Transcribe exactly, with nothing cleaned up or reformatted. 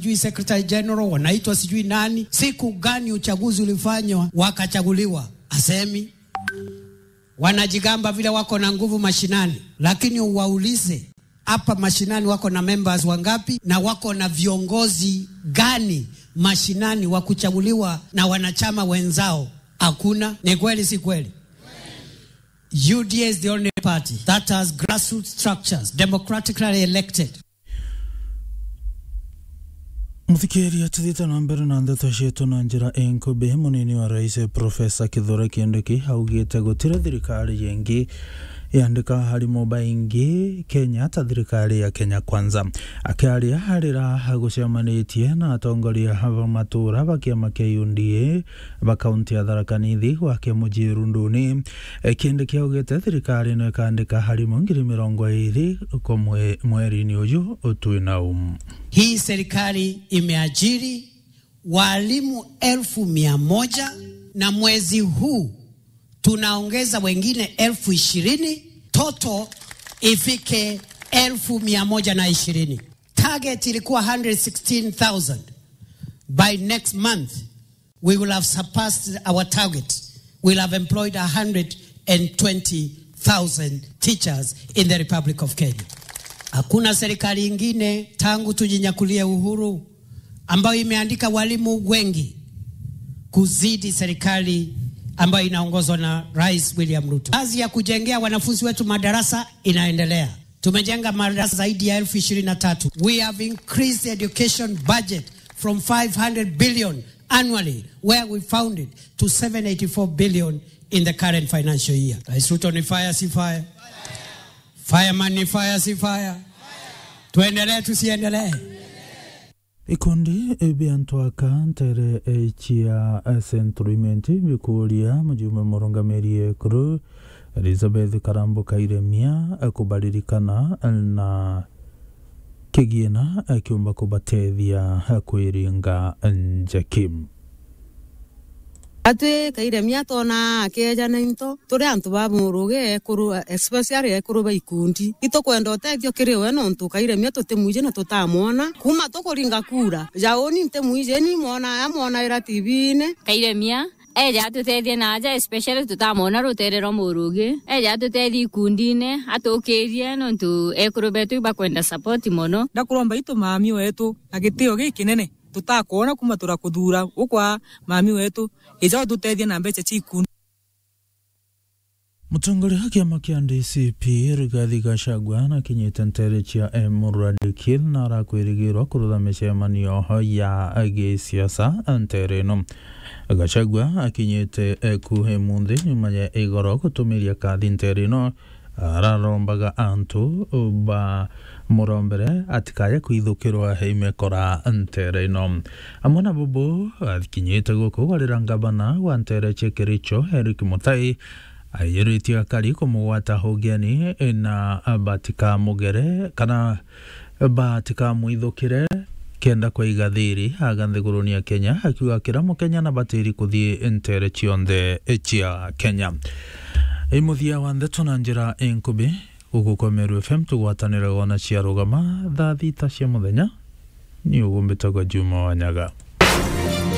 sijui secretary general, wanaitwa sijui nani. Siku gani uchaguzi ulifanywa wakachaguliwa? Asemi. Wanajigamba vile wako na nguvu mashinani, lakini uwaulize, hapa mashinani wako na members wangapi na wako na viongozi gani mashinani wa kuchaguliwa na wanachama wenzao? Hakuna. Ni kweli, si kweli? U D A is the only party that has grassroots structures, democratically elected. Muthikiria, tuthiite na mbere na ndeto cietu na njira inkubi. Munini wa rais, Professor Kithure Kindiki, augite gutiri thirikari ingi yandika arimu baingi Kenya ta thirikari ya Kenya Kwanza. Akiaria arira agucemanitie na atongoria ba matura ba kiama kia U D A ba kaunti ya Tharaka Nithi gwake mucii Runduni, e, Kindiki augite thirikari no ikandika arimu ngiri mirongo iiri kwa mwe-, mweri-ini uju twinau. Hii serikali imeajiri walimu elfu mia moja, na mwezi huu tunaongeza wengine elfu ishirini, total ifike elfu mia moja na ishirini. Target ilikuwa hundred sixteen thousand. By next month, we will have surpassed our target. We'll have employed a hundred and twenty thousand teachers in the Republic of Kenya. Hakuna serikali ingine tangu tujinyakulie uhuru ambayo imeandika walimu wengi kuzidi serikali ambayo inaongozwa na Rais William Ruto. Kazi ya kujengea wanafunzi wetu madarasa inaendelea. Tumejenga madarasa zaidi ya elfu ishirini na tatu. We have increased the education budget from five hundred billion annually, where we found it, to seven eighty-four billion in the current financial year. Rais Ruto, ni fire si fire? Fireman, ni fire si fire? Tuendelee, tusiendelee? Ikundi bia antu aka ntere, eh, cia, eh, Central Imenti bikuria mujumbe murungamiri ekuru Elizabeth Karambu Kairemia, eh, kubaririkana, eh, na kigiina, eh, kiumba kubatethia, eh, kwiringa njeki. Atwi Kairemia twona akeeja na into, turi antu ba murugi ekuru, especially ekuru ba ikundi. Itukwenda utethio kiri we, nontu Kairemia tutimwiji na tutamwona. Kuma tukuringa kura, ja uni ntimwiji, ni mwona, amwonaira T V-ini. Kairemia eja atutethie na aja, especially tutamwona rutere rwa murugi. Eja atutethie ikundine, atukirie, nontu ekuru betu ibakwenda support mono. Ndakuromba itu mami wetu na gitio gikinene. Tutakwona kuma turakuthura ukwa mami wetu, ija ututethie na mbeca cia ikundi. Mutongoria wa kiama kia D C P, Rigathi Gachagua, nakinyite ntere cia Emurua Dikirr na arakwirigirwa kurutha micemanio ya gisiasa ntere ino. Gachagua akinyite eku emunthi nyuma ya igoro gutumiria kathi ntere ino, ararombaga antu ba murombere atikaye kwithukirwa imekora ntere ino. Amwe na bubu, akinyite guku gwarira ngavana wa ntere cia Kericho, Eric Mutai, aiyiritie akari kumugwata ugeni na batikamugere kana batikamwithukire kenda kwaiga thiri aga nthiguruni ya Kenya, akiuga kira Mukenya nabatiri kuthii ntere cionthe cia Kenya. I muthia wa ndeto na njira inkubi, guku kwa Meru F M tugwatanire wona cia rugama thaa thita cia muthenya. Ni ugumbitagwa Juma Wanyaga.